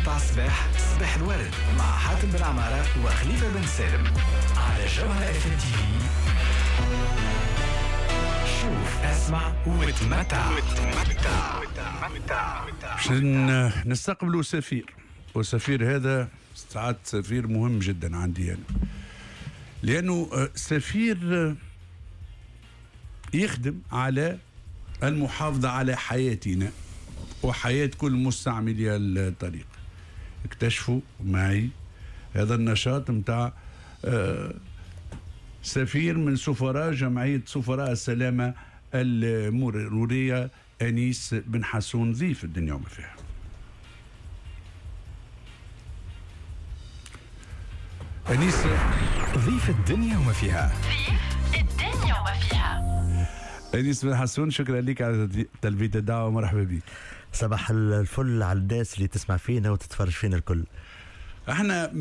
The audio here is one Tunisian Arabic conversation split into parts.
متاع الصباح، صباح الورد مع حاتم بن عمارة وخليفة بن سالم على جوهرة اف ام تي في. شوف، اسمع وتمتع. باش نستقبلوا سفير، والسفير هذا ساعات سفير مهم جدا عندي أنا، لأنه سفير يخدم على المحافظة على حياتنا وحياة كل مستعملي الطريق. اكتشفوا معي هذا النشاط متاع سفير من سفراء جمعية سفراء السلامة المرورية، أنيس بن حسون، ضيف الدنيا وما فيها. أنيس ضيف الدنيا وما فيها. ضيف الدنيا وما فيها. أنيس بن حسون، شكرا لك على تلبية الدعوة ومرحبا بك. صباح الفل على الناس اللي تسمع فينا وتتفرج فينا الكل. احنا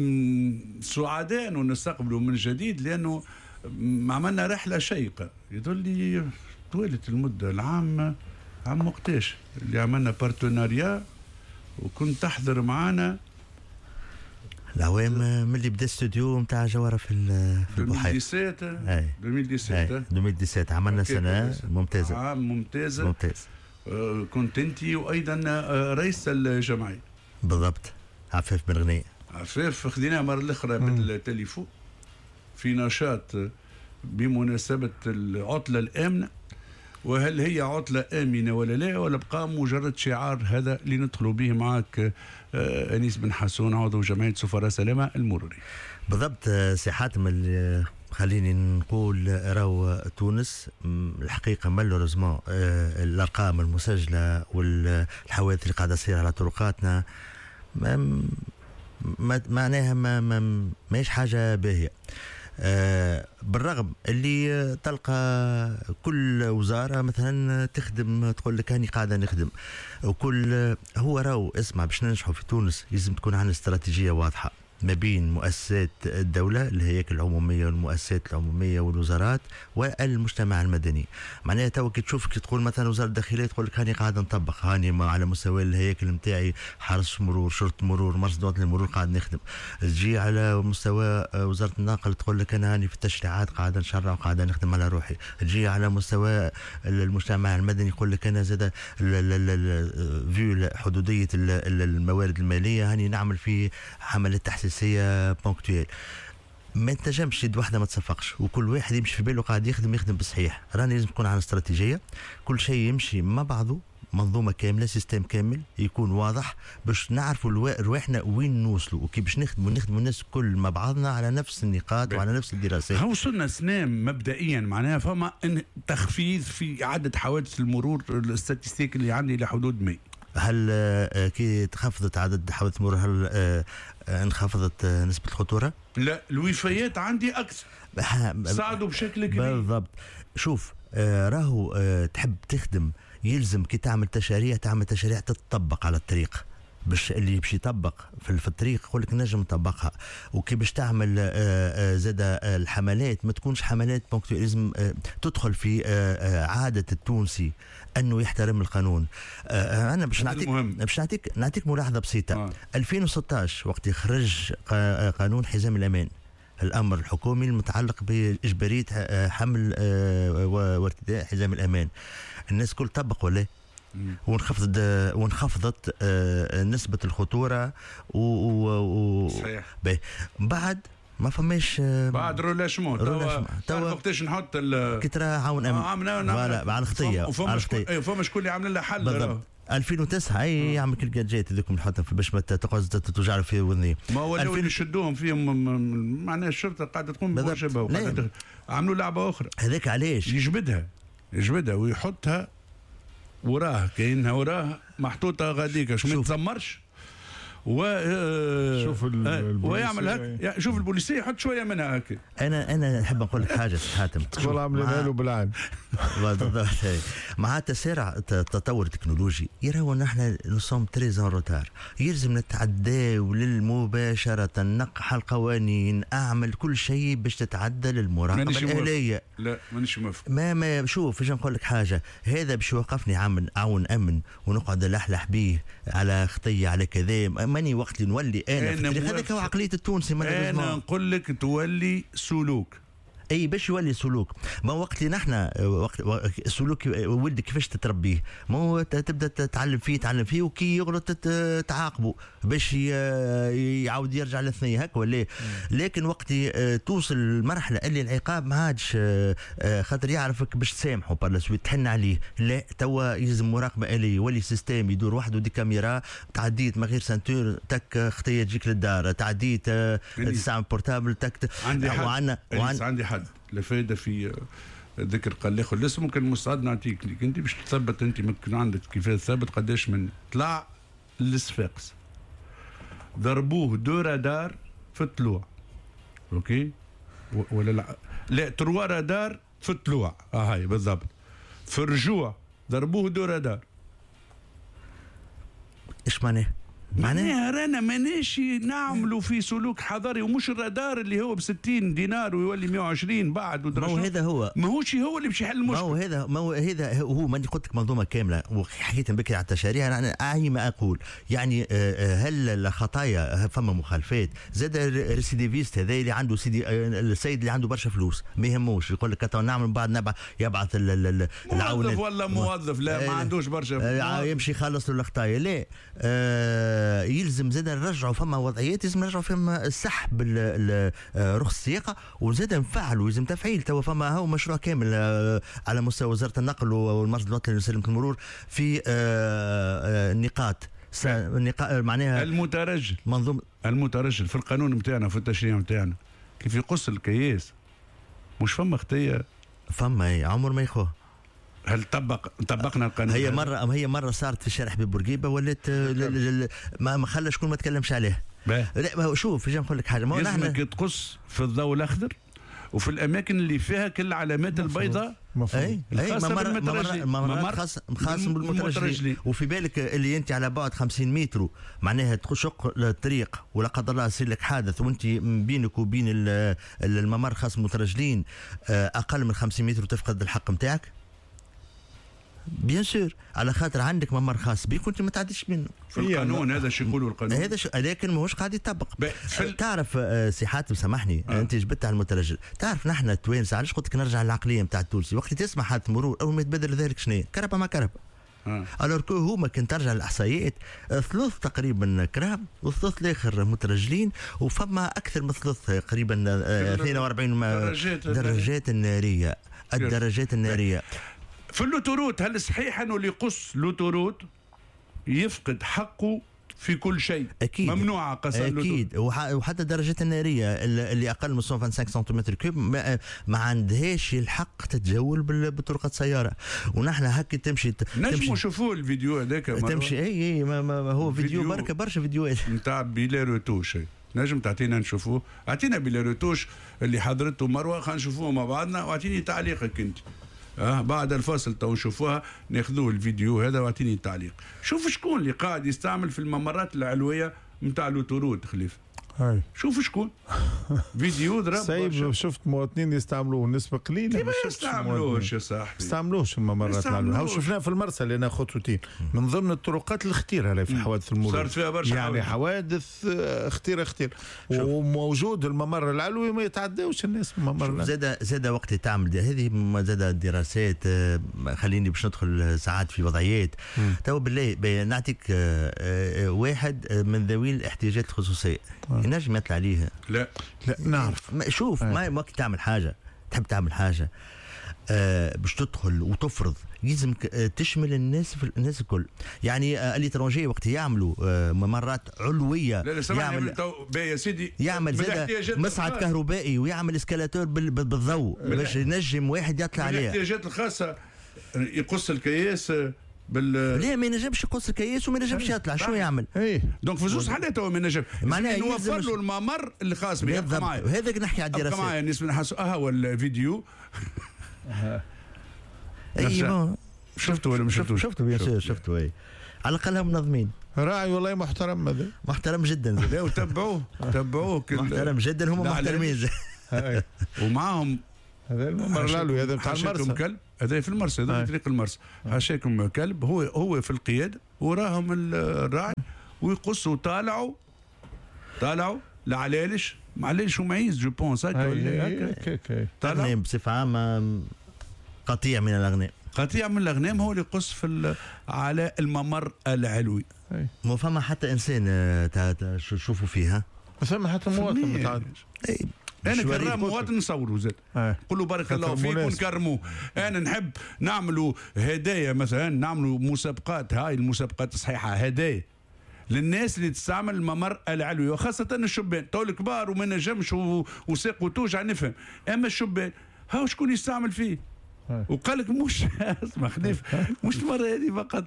سعداء انه نستقبله من جديد، لانه عملنا رحله شيقة. يدل لي طوالت المدة، العام عام وقتاش اللي عملنا partenariat وكنت تحضر معنا العوام من اللي بدا استوديو نتاع جوهره في البحيرة 2017. 2017 عملنا سنة ممتازة، عام ممتازة ممتاز. كنت انت وايضا رئيس الجمعية بالضبط، عفاف بن غنية. عفاف خذيناها مرة الاخرى بالتليفون في نشاط بمناسبة العطلة الامنة، وهل هي عطلة آمنة ولا لا، ولا بقى مجرد شعار هذا اللي ندخلوا به معك أنيس بن حسون، عضو جمعية سفراء سلامة المروري. بالضبط سي حاتم، خليني نقول راهو تونس الحقيقة malheureusement الأرقام المسجلة والحوادث اللي قاعدة تصير على طرقاتنا معناها ماهيش حاجة باهية. بالرغم اللي تلقى كل وزارة مثلا تخدم تقول لك هاني قاعدة نخدم، وكل هو راهو اسمع، باش ننجحوا في تونس لازم تكون عندنا استراتيجية واضحة ما بين مؤسسات الدولة، الهياكل العمومية والمؤسسات العمومية والوزارات والمجتمع المدني. معناها تو كي تشوف كي تقول مثلا وزارة الداخلية تقول لك هاني قاعد نطبق، هاني على مستوى الهياكل نتاعي حرس مرور، شرطة مرور، مرصد وطني للمرور قاعد نخدم. تجي على مستوى وزارة النقل تقول لك أنا هاني في التشريعات قاعد نشرع وقاعد نخدم على روحي. تجي على مستوى المجتمع المدني يقول لك أنا زاد vu حدودية الموارد المالية هاني نعمل في حملات تحسيسية ponctuelles. ما تنجمش يد واحدة ما تصفقش وكل واحد يمشي في باله قاعد يخدم يخدم بالصحيح. راني لازم تكون عندنا استراتيجية، كل شيء يمشي مع بعضه، منظومة كاملة، système كامل يكون واضح باش نعرفوا رواحنا وين نوصلوا، وكي باش نخدموا الناس كل مع بعضنا على نفس النقاط وعلى نفس الدراسات. وصلنا سنة مبدئيا معناها فما تخفيض في عدد حوادث المرور، ال statistiques اللي عندي لحدود 100. هل كي تخفضت عدد حوادث المرور هل انخفضت نسبة الخطورة؟ لا، الوفيات عندي أكثر، صعدوا بشكل كبير. بالضبط. شوف راهو تحب تخدم يلزم كي تعمل تشاريع، تعمل تشاريع تتطبق على الطريق، باش اللي باش يطبق في الطريق يقول لك نجم نطبقها. وكي باش تعمل زاد الحملات ما تكونش حملات ponctuelles، لازم تدخل في عادة التونسي انه يحترم القانون. انا باش نعطيك نعطيك ملاحظة بسيطة. 2016 وقت خرج قانون حزام الامان، الامر الحكومي المتعلق باجباريه حمل وارتداء حزام الامان، الناس كل طبق ولا؟ وانخفضت نسبة الخطورة صحيح. بعد ما فماش بعد relâchement توا وقتاش نحط كي ترى عون امن على الخطية، فما شكون اللي عامل لها حل بالضبط. 2009 اي يعمل كل جات هذوك نحطهم باش ما تقعد توجع في وذني. ما هو اللي يشدوهم فيهم معناها الشرطة قاعدة تقوم بواجبها، عملوا لعبة أخرى. هذاك علاش يجبدها ويحطها وراه، كاينها وراه محطوطة غاديك باش ما تزمرش. شوف ويعمل هك، شوف البوليسيه يحط شوية منها هكا. انا نحب نقول لك حاجة حاتم، تقول عاملينها له بالعين. بالضبط. مع تسارع التطور التكنولوجي يراو نحن nous sommes très en retard، يلزم نتعداو للمباشره، نقح القوانين، اعمل كل شيء باش تتعدل المراقبة الالية. لا مانيش موافق. ما شوف باش نقول لك حاجة، هذا باش يوقفني عون امن ونقعد نلحلح بيه على خطيه على كذا، ماني وقت اللي نولي انا هذاك هو عقلية التونسي. انا نقول لك تولي سلوك. اي باش يولي سلوك، ما وقت اللي نحن وقت السلوك ولدك كيفاش تتربيه؟ ما هو تبدا تعلم فيه تعلم فيه، وكي يغلط تعاقبه باش يعاود يرجع للثنيه هكا ولا. لكن وقت توصل المرحلة اللي العقاب ما عادش خاطر يعرفك باش تسامحه par la suite تحن عليه، لا توا يلزم مراقبة آلية، يولي système يدور وحده، des caméras، تعديت من غير ceinture تك خطيه تجيك للدار، تعديت تستعمل portable تك. عندي عندي حد لا فايده في ذكر قال الاخر الاسم، ممكن مستعد نعطيك ليك انت باش تثبت، انت ممكن عندك كيفاش تثبت قداش من طلع للصفاقس ضربوه deux radars في الطلوع، OK ولا لا؟ لا trois radars في الطلوع، هاي بالضبط. في الرجوع ضربوه deux radars. ايش معناه؟ معناها رانا ماناش نعملوا في سلوك حضاري، ومش الرادار اللي هو ب 60 دينار ويولي 120 بعد. ما هو هذا هو، ماهوش هو اللي باش يحل المشكل. ما هو هذا هو ماني قلت لك منظومة كاملة، وحكيت بكري على التشاريع. انا اعي ما اقول، يعني هل الخطايا فما مخالفات؟ زاد ال récidiviste هذا اللي عنده سيدي السيد اللي عنده برشا فلوس ما يهموش، يقول لك نعمل بعد يبعث العون موظف ولا موظف لا ما عندوش برشا يمشي يخلص له الخطايا. لا يلزم زاد نرجعوا فما وضعيات، لازم نرجعوا فما سحب رخص السياقه، وزاد نفعلوا، لازم تفعيل. توا فما هو مشروع كامل على مستوى وزارة النقل والمرصد الوطني لسلامة المرور في نقاط معناها المترجل، منظومة المترجل في القانون نتاعنا في التشريع نتاعنا كيف يقص الكياس مش فما خطيه، فما عمر ما يخوه. هل طبقنا القانون؟ هي مرة صارت في شارع حبيب بورقيبة ولات ما خلى شكون ما تكلمش عليه. لا شوف جا نقول لك حاجة، ما لازمك تقص في الضوء الاخضر وفي الاماكن اللي فيها كل العلامات البيضاء. اي خاص بالمترجلين. وفي بالك اللي انت على بعد 50 متر معناها تشق الطريق ولا قدر الله يصير لك حادث وانت بينك وبين الممر خاص بالمترجلين اقل من 50 متر وتفقد الحق نتاعك. bien sûr على خاطر عندك ممر خاص بيك وانت ما تعديش منه. في القانون هذا شو يقولوا القانون هذا لكن ماهوش قاعد يطبق. تعرف سي حاتم سامحني انت جبت على المترجل، تعرف نحن التوانسة علاش قلت لك نرجع للعقليه نتاع التونسي، وقت تسمع حادث مرور اول ما يتبادل ذلك شنو كرهبه مع كرهبه. alors que هما كان ترجع للاحصائيات ثلث تقريبا كرهب والثلث الاخر مترجلين، وفما اكثر من ثلث تقريبا 42 دراجات النارية. الدراجات النارية في l'autoroute. هل صحيح انه اللي يقص l'autoroute يفقد حقه في كل شيء؟ اكيد ممنوع قص اكيد. وحتى الدراجات النارية اللي اقل من 125 centimètres cubes ما عندهاش الحق تتجول بطرقه سيارة. ونحن هكا تمشي نجموا نشوفوا الفيديو هذاك تمشي اي ما هو فيديو بركة برشا فيديوهات نتاع بلا رتوش، نجم تعطينا نشوفوه؟ اعطينا بلا رتوش اللي حضرته مروه، خلينا نشوفوه مع بعضنا واعطيني تعليقك انت. بعد الفاصل تو نشوفوها، ناخذوه الفيديو هذا واعطيني التعليق. شوف شكون اللي قاعد يستعمل في الممرات العلوية نتاع l'autoroute خليفة. هاي شوف شكون فيديو ضرب. صعيب شفت مواطنين يستعملوه نسبه قليله. ما يستعملوش يا صاحبي، يستعملوش الممرات العلوية. هاو شفناه في المرسى لنا خطوتين من ضمن الطرقات الخطيرة اللي في حوادث المرور صارت فيها برشا يعني حوادث خطيرة خطيرة، وموجود الممر العلوي ما يتعداوش الناس الممر. زاد وقت تعمل هذه زاد دراسات. خليني باش ندخل ساعات في وضعيات تو بالله نعطيك واحد من ذوي الاحتياجات الخصوصية ينجم يطلع عليها؟ لا لا نعرف. شوف ما وقت تعمل حاجة تحب تعمل حاجة باش تدخل وتفرض لازم تشمل الناس في الناس الكل. يعني l'étranger وقت يعملوا ممرات علويه، لا لا يعمل يا سيدي يعمل زاد مصعد كهربائي ويعمل escalator بالضوء باش ينجم واحد يطلع عليه. الاحتياجات الخاصة يقص الكياس لا ما ينجمش يقص الكياس وما ينجمش يطلع، شو يعمل؟ ايه donc في زوج حالات هو ما ينجم، معناها نوفر له الممر الخاص به. بالضبط، وهذاك نحكي على الدراسات. معايا الناس نحسوا هو الفيديو. اي شفته ولا ما شفتوش؟ شفته bien sûr شفته. اي على الاقل هم منظمين. راعي والله محترم هذا، محترم جدا. لا وتبعوه تبعوه محترم جدا، هم محترمين. ومعاهم هذا الممر العلوي هذا بتاع المرسى. كلب هذا في المرسى، هذا في طريق المرسى. حاشاكم كلب هو في القيادة وراهم الراعي ويقصوا طالعوا العلالش، معلش ومعيز je pense هكا ولا هكا. طالع بصفة عامة قطيع من الاغنام، قطيع من الاغنام هو اللي يقص في على الممر العلوي. ما فما حتى انسان تشوفوا فيها، ما فما حتى مواطن متعدي. انا كرام مواطن نصوروا زاد، نقول له بارك الله فيك ونكرموه. انا نحب نعملوا هدايا مثلا، نعملوا مسابقات، هاي المسابقات الصحيحة، هدايا للناس اللي تستعمل الممر العلوي، وخاصة الشبان. تو الكبار وما نجمش وساق وتوجع نفهم، اما الشبان هاو شكون يستعمل فيه. وقال لك مش اسمع خليف، مش المرة هذه فقط،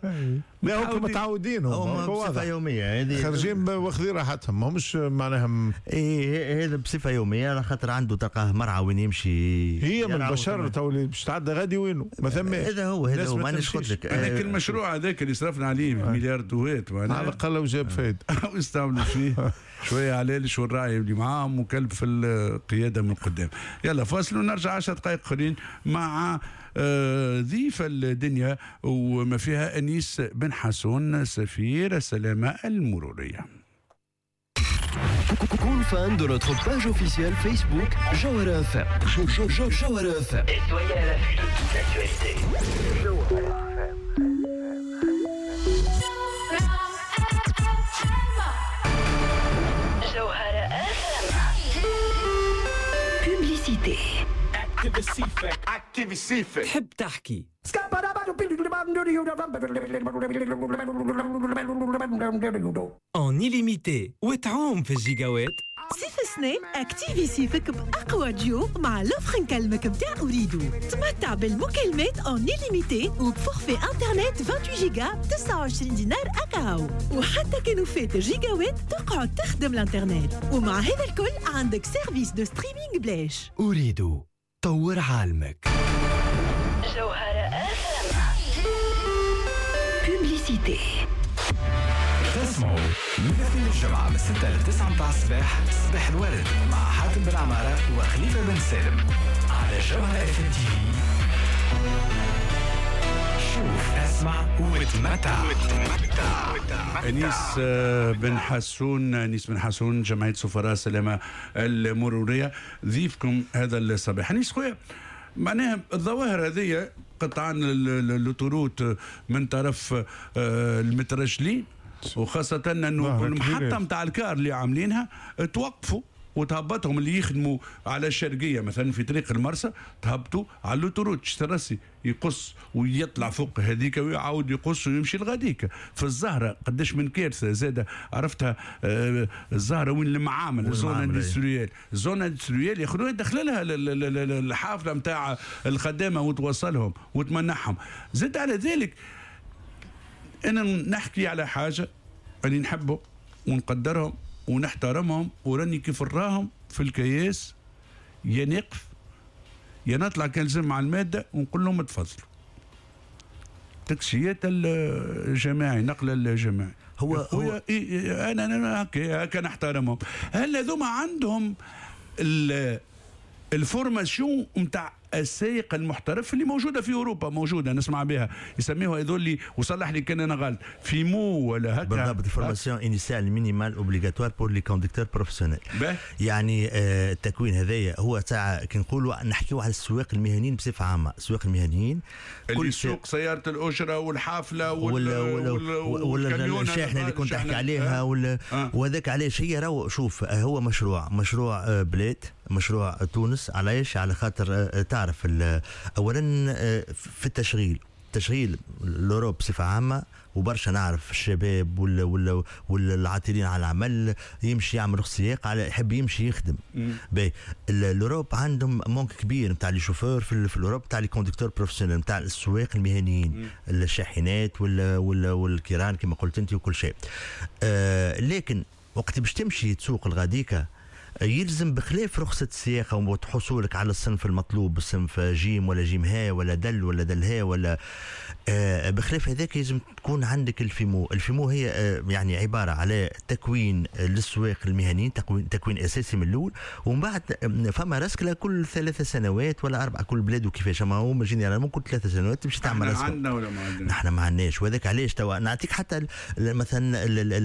لا هم متعودين، هم بصفة يومية هذه خارجين واخذين راحتهم، ماهمش معناها اي هذا بصفة يومية، على خاطر عنده تلقاه مرعى وين يمشي. هي من البشر تو اللي باش تعدى غادي وينه ما ثماش. هذا هو، هذا هو، مانيش قلت لك. هذاك المشروع هذاك اللي صرفنا عليه مليار دوات على الاقل وجاب فايده ويستعملوا فيه شوية علالش والراعي اللي معاهم وكلب في القيادة من قدام. يلا فاصل ونرجع 10 دقائق اخرين مع ضيف الدنيا وما فيها أنيس بن حسون سفير السلامة المرورية. كون fan de notre page officielle Facebook Jawhara FM. Jawhara FM. Et soyez à l'affût de toute l'actualité. Jawhara FM. Jawhara FM. Publicité. تحب تحكي en illimité وتعوم في الجيجاوات. صيف السنة activer صيفك بأقوى ديو مع l'offre نكلمك متاع أوريدو. تمتع بالمكالمات en illimité وب forfait internet 28 جيجا 29 دينار أكاو، وحتى كانوا فات جيجاوات تقعد تخدم الانترنت. ومع هذا الكل عندك service de streaming بلاش. أوريدو طور عالمك. جوهرة Publicité. تسمعوا من الاثنين للجمعة من 6 ل 9 متاع الصباح، صباح الورد مع حاتم بن عمارة وخليفة بن سالم على جوهرة FM TV. شوف، اسمع وتمتع. أنيس بن حسون، أنيس بن حسون جمعية سفراء السلامة المرورية، ضيفكم هذا الصباح. أنيس خويا، معناها الظواهر هذه قطعا l'autoroute من طرف المترجلين، وخاصة أنه المحطة متاع الكار اللي عاملينها توقفوا وتهبطهم اللي يخدموا على الشرقية مثلا في طريق المرسى، تهبطوا على l'autoroute ترسي يقص ويطلع فوق هذيك ويعاود يقص ويمشي لغاديك. في الزهرة قداش من كارثة زادة عرفتها. الزهرة وين المعامل، zone industrielle، zone industrielle ياخذوها يدخل لها الحافلة نتاع الخدامة وتوصلهم وتمنحهم. زد على ذلك أنا نحكي على حاجة أني نحبه ونقدرهم ونحترمهم، وراني كيف نراهم في الكياس يا نقف يا نطلع كان مع المادة ونقول لهم تفضلوا. تاكسيات الجماعي، نقل الجماعي هو إيه، انا هكا نحترمهم. هل هذوما عندهم ال formation نتاع السائق المحترف اللي موجودة في اوروبا، موجودة نسمع بها، يسميوها هذول، وصلح لي كان انا غلط، FIMO ولا هكا بالضبط، formation initiale minimale obligatoire pour les conducteurs professionnels. يعني التكوين هذايا هو تاع كي نقولوا نحكيو على السواق المهنيين بصفة عامة، السواق المهنيين اللي سوق سيارة الاجرة والحافله ولا الشاحنة اللي كنت تحكي عليها ولا وهذاك علاش هي راهو. شوف، هو مشروع بلاد، مشروع تونس. علاش؟ على خاطر تعرف اولا في التشغيل، تشغيل l'Europe بصفة عامة، وبرشا نعرف الشباب ولا والعاطلين على العمل يمشي يعمل سياق على يحب يمشي يخدم. باهي l'Europe عندهم manque كبير نتاع les chauffeurs في l'Europe، نتاع les conducteurs professionnels، نتاع السواق المهنيين، الشاحنات ولا والكيران كما قلت انت وكل شيء. لكن وقت باش تمشي تسوق الغاديكا يلزم بخلاف رخصة السياقة وحصولك على الصنف المطلوب، الصنف جيم ولا جيم ها ولا دل ولا دل ها ولا بخلاف هذاك يلزم تكون عندك ال FIMO. ال FIMO هي يعني عبارة على تكوين للسواق المهنيين، تكوين أساسي من الأول، ومن بعد فما رسكلة كل 3 سنوات ولا 4، كل بلاد وكيفاش، أما هو généralement كل 3 سنوات تمشي تعمل رسكلة. عندنا ولا ما عندنا؟ نحن ما عندناش، وهذاك علاش توا نعطيك حتى مثلا